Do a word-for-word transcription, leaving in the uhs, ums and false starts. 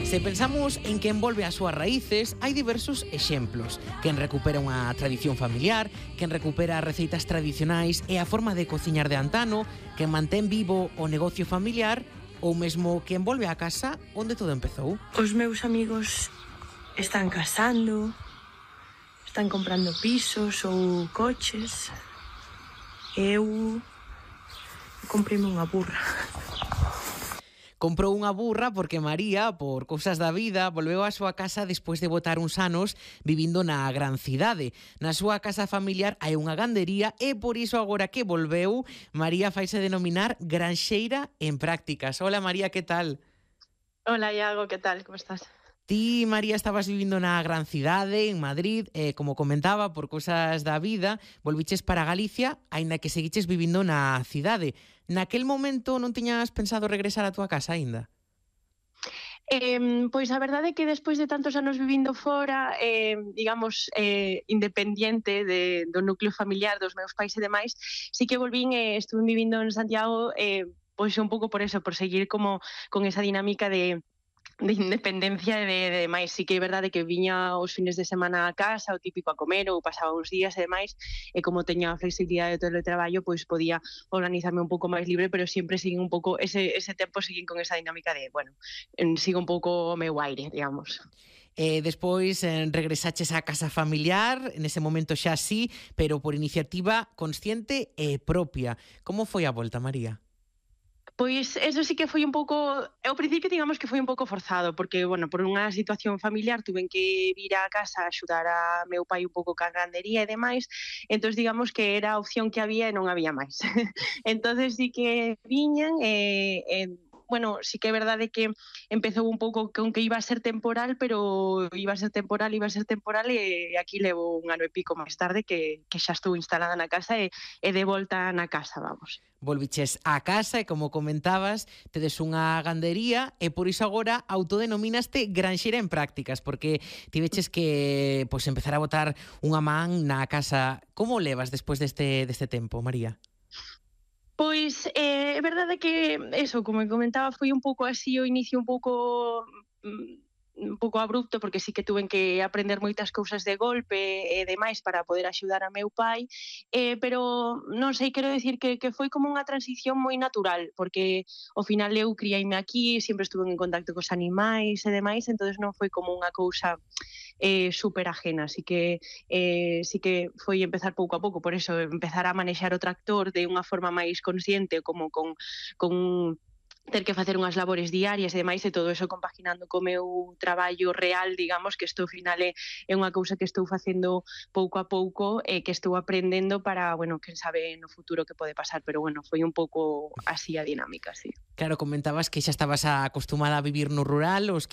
Se pensamos en quen volve ás súas raíces, hai diversos exemplos. Quen recupera unha tradición familiar, quen recupera receitas tradicionais e a forma de cociñar de antano, quen mantén vivo o negocio familiar ou mesmo quen volve á casa onde todo empezou. Os meus amigos están casando, están comprando pisos ou coches. Eu comprime unha burra. Comprou unha burra porque María, por cousas da vida, volveu á súa casa despois de botar uns anos vivindo na gran cidade. Na súa casa familiar hai unha gandería e por iso agora que volveu, María faise denominar granxeira en prácticas. Hola María, que tal? Hola Iago, que tal? Como estás? Ti, María, estabas vivindo na gran cidade, en Madrid, e, como comentaba, por cousas da vida, volviches para Galicia, aínda que seguiches vivindo na cidade. Naquel momento non tiñas pensado regresar á túa casa aínda? Eh, pois a verdade é que despois de tantos anos vivindo fora, eh, digamos, eh, independiente de, do núcleo familiar dos meus pais e demais, sí que volvín e estuve vivindo en Santiago, eh, pois un pouco por eso, por seguir como con esa dinámica de de independencia e de, de demais. Sí que é verdade que viña os fines de semana a casa, o típico a comer, ou pasaba uns días e demais, e como teña a flexibilidade de teletraballo, pois podía organizarme un pouco máis libre, pero sempre seguín un pouco, ese, ese tempo seguín con esa dinámica de, bueno, sigo un pouco o meu aire, digamos. E despois eh, regresaches á casa familiar, nese momento xa sí, pero por iniciativa consciente e propia. Como foi a volta, María? Pois eso sí que foi un pouco, ao principio digamos que foi un pouco forzado, porque, bueno, por unha situación familiar tuven que vir á casa a axudar a meu pai un pouco ca gandería e demais, entón digamos que era a opción que había e non había máis. Entonces sí que viñan e, e bueno, sí que é verdade que empezou un pouco con que iba a ser temporal, pero iba a ser temporal, iba a ser temporal e aquí levo un ano e pico máis tarde que, que xa estou instalada na casa e, e de volta na casa, vamos. Volviches á casa e, como comentabas, tedes unha gandería e por iso agora autodenominaste granxeira en prácticas, porque tiveches que pois, empezar a botar unha man na casa. Como levas despois deste, deste tempo, María? Pois eh, é verdade que, eso, como comentaba, foi un pouco así o inicio un pouco un pouco abrupto, porque sí que tuven que aprender moitas cousas de golpe e demais para poder axudar a meu pai, eh, pero non sei, quero decir que, que foi como unha transición moi natural, porque ao final eu criaime aquí, sempre estuve en contacto cos animais e demais, entonces non foi como unha cousa eh, super ajena, así que eh, sí que foi empezar pouco a pouco, por eso empezar a manexar o tractor de unha forma máis consciente, como con, con ter que facer unhas labores diarias e demais, e todo eso compaginando co meu traballo real, digamos, que isto ao final é, é unha cousa que estou facendo pouco a pouco e que estou aprendendo para, bueno, quen sabe no futuro que pode pasar, pero bueno, foi un pouco así a dinámica, sí. Claro, comentabas que xa estabas acostumada a vivir no rural, os